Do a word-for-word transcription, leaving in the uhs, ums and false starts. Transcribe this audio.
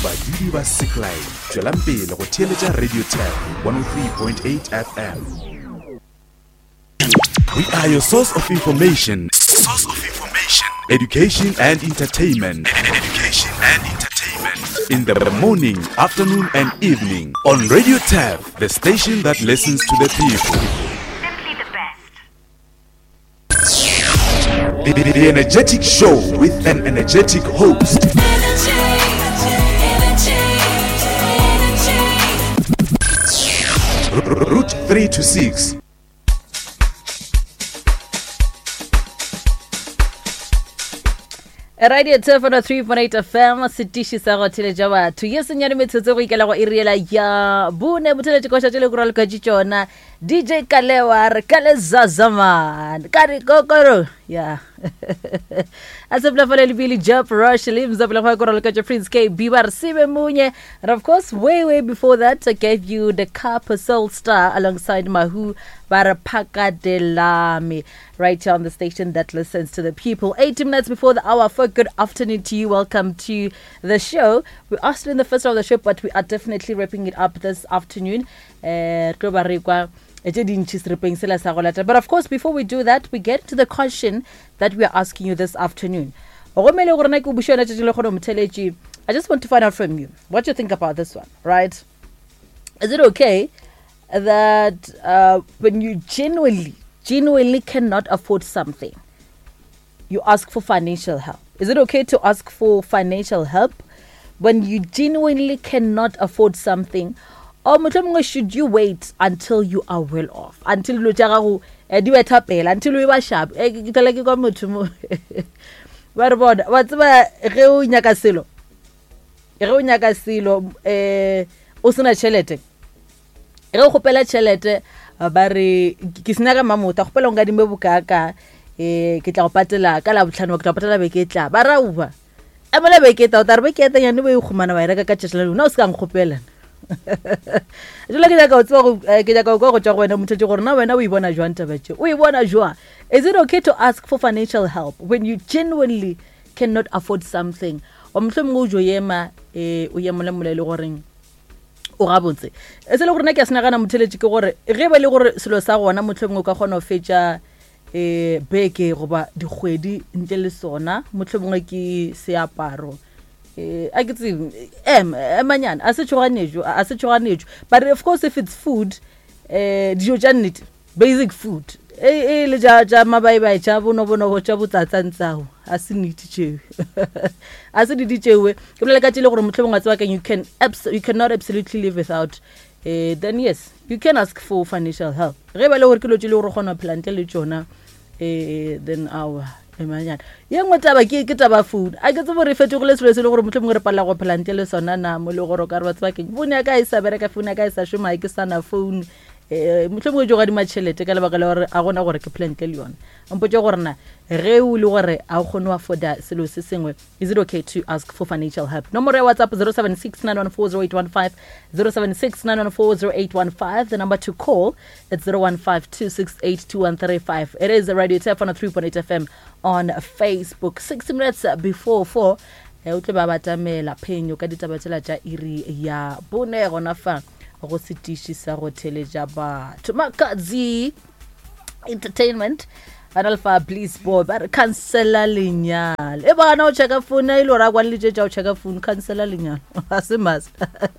Badudi ba Seklai, tšwelang pele go theeletša Radio Tap one oh three point eight F M. We are your source of information. Source of information. Education and entertainment. Education and entertainment. In the morning, afternoon and evening on Radio Tap, the station that listens to the people. Simply the best. The, the, the energetic show with an energetic host. Energy, energy, energy. Route three to six. Radio Turf one oh three point eight F M, setiši sa go theletša batho. Ye senyane metsotso go ikela go iri yela ya bone, botheletše koša tše le go raloka tše tšona. D J Kalewa re ka le Zazaman. Ka re kokoro. Ya. A se pla fale le Billy Job Rush le mzapela go go raloka tše Prince K B ba re sebe munye. And of course way way before that I gave you the Cup Soul Star alongside Mahu ba re Phakadelami, right here on the station that listens to the people. eighty minutes before the hour for good afternoon to you. Welcome to the show. We are still in the first hour of the show, but we are definitely wrapping it up this afternoon. Eh, tlo ba re kwa, eh, tše dintši seripeng sela sa go lata. But of course, before we do that, we get to the question that we are asking you this afternoon. Go mele gore na ke o buše yona tšatši le gore motheletši, I just want to find out from you what you think about this one, right? Is it okay that, uh, when you genuinely, genuinely cannot afford something, you ask for financial help? Is it okay to ask for financial help when you genuinely cannot afford something? Or mohlomongwe should you wait until you are well off? Until dilo tša gago, eh, di betha pele, until o e ba sharp. Eh, ke tla ke kwa motho mo. Ba re bona, wa tseba ge o nyaka selo, ge o nyaka selo, eh, o sena tšhelete. Ge o kgopela tšhelete, ba re, ke se nyaka mamota, kgopela o nkadime bokaka, eh, ke tla go patela ka Labohlano, ke tla go patela beke e tla. Ba ra uba. Emela beke e tla, o tla re beke e tla nyane bo e khumana wa e reka ka tšatši la lona, o se ka nkgopela. Jwale ke nyaka ho tseba go, eh, ke nyaka ho kwa go tšwa go wena motho gore na wena o e bona jwang taba tše? O e bona jwang? Is it okay to ask for financial help when you genuinely cannot afford something? Wa mohlomongwe o jo ema, eh, o ye mola mola e le goreng o gabotse. E se le gore nna ke a se nagana motheletši ke gore ge ba le gore selo sa gona mohlomongwe o ka kgona ho fetša, eh, beke goba dikgwedi ntle le sona, mohlomongwe ke seaparo. Eh, a ke tsebe, em, emanyana, a se tšhoganetšo, a se tšhoganetšo. But of course if it's food, eh, dijo tša nnete, basic food, e, e le tša, tša mabaibai, tša bonobonobo, tša botsatsantsao, a se nnete tšeo. A se nnete tšeo. Ke bolela ka tše le gore mohlomongwe wa tseba keng, you can abs-, you cannot absolutely live without, eh, then yes, you can ask for financial help. Ge ba le gore ke dilo tše le gore o kgona ho phela ntle le tšona, eh, then aowa, emanyana. Ye nngwe taba ke, ke taba food. A ke tsebe gore e fetogile selo se le gore mohlomongwe re palela go phela ntle le sona na, mo le gore o ka re ba tseba keng, phone ya ka e sa bereka, phone ya ka e sa šoma, ke sa na phone. Eh, mohlomongwe jo gadima tšhelete ka lebaka la gore a gona gore ke phele ntle le yona. Mpotše gore na ge o le gore a o kgone ho afforda selo se sengwe, is it okay to ask for financial help? Nomoro ya WhatsApp zero seven six nine one four zero eight one five, zero seven six nine one four zero eight one five. The number to call it's zero one five two six eight two one three five. It is Radio Turf one oh three point eight F M on Facebook. Six minutes before four. Eh, o tle ba batamela phenyo ka ditaba tsela tša iri ya bone gona fa go setiši sa go theletša batho. Makhadzi Entertainment ba na le fa Bliss Boy ba re cancela lenyalo. E bana o checka phone e le gore a kwane le tše tša o checka phone, cancela lenyalo. Ga se must.